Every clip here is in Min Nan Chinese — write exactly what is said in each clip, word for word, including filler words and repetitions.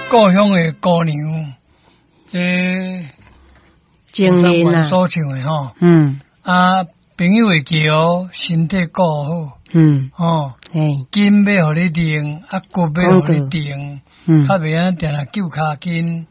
故鄉的姑娘，這情人啊，所唱的吼，嗯。啊，朋友會記哦，身體顧好，嗯，吼，嘿，筋欲予你練，啊骨欲予你定，嗯，較袂按呢定定揪跤筋，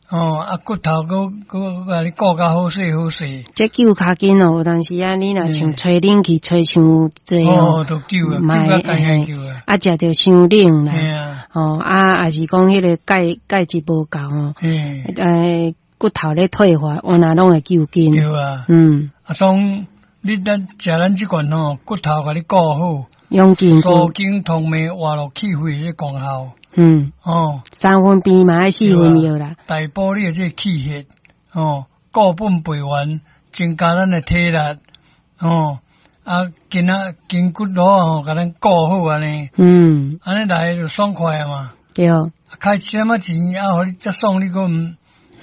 吼，啊骨頭閣閣共你顧較好勢好勢。這揪跤筋哦，有當時啊，你若像吹冷氣吹傷濟哦，都揪啊，揪較艱揪啊，啊，食著傷冷啦，啊，吼，啊，抑是講彼个鈣鈣質無夠吼，欸，骨頭咧退化，原來攏會揪筋。對啊，嗯，啊，當你咱食咱這罐吼，骨頭共你顧好，養筋骨，舒筋通脈活絡氣血的功效。嗯，哦，三分病嘛愛四分藥啦。大補你的這個氣血，哦，固本培元，增加咱的體力，哦，啊，筋仔筋骨路吼，共咱顧好按呢。嗯，按呢來就爽快啊嘛。對。開一點仔錢啊，予你遮爽，你閣毋？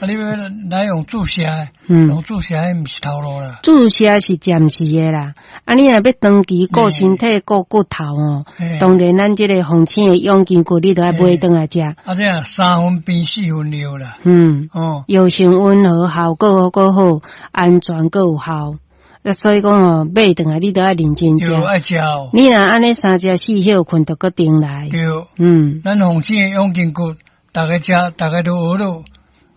啊！你欲來用注射，嗯，用注射彼毋是頭路啦。注射是暫時的啦。啊，你若欲長期顧身體、顧骨頭哦，當然咱這个鳳青的養筋骨，你著愛買轉來食。啊，這樣三分病四分藥啦。嗯，哦，藥性溫和，效果閣好，安全閣有效。啊，所以講哦，買轉來你著愛認真食。愛食哦。你若按呢三食四歇睏，著閣重來。對。嗯。咱鳳青的養筋骨，逐家食，逐家都學囉。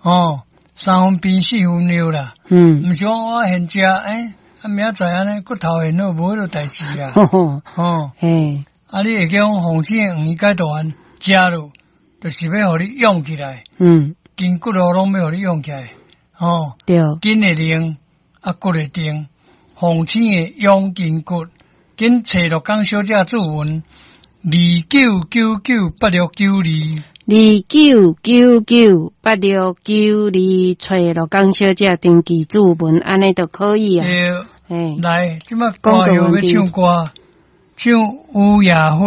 哦，三分病四分藥啦。嗯，毋是講我現食，欸，啊明仔載按呢骨頭現好，無彼落代誌啊。哦，嘿，啊，你會記講鳳青的黃芪解毒丸食落，就是欲予你養起來。嗯，筋骨路攏欲予你養起來。哦，對，筋會靈，啊骨會定，鳳青的養筋骨，緊揣鹿港小姐注文，二九九九八六九二。二九九九八六九二，揣鹿港小姐登記注文，按呢就可以啊。對，來，這擺歌謠欲唱歌，唱雨夜花。